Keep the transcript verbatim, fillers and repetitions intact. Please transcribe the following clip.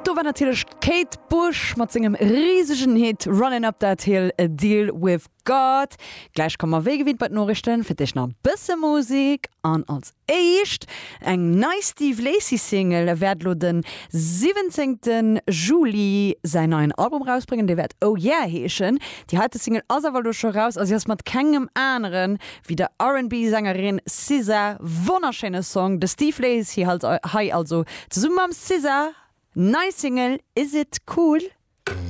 Do war natierlech d'Kate Bush mat sengem risegen Hit Running Up That Hill, A Deal With God. Gläich komme mer wéi gewinnt bei d'Noriichten, fir d'éischt nach e bësse Musek an als éischt eng nei Steve Lacy Single. E wäert lo den siwwenzéngte Juli säin neien Album rausbréngen, dee wäert Oh Yeah heeschen. Déi heite Single ass awer lo scho raus a si ass mat kengem aneren wéi der R and B Sängerin S Z A. Wonnerschéine Song, de Steve Lacy halt hei also zesumme mam S Z A. Nei Single Is It Cool?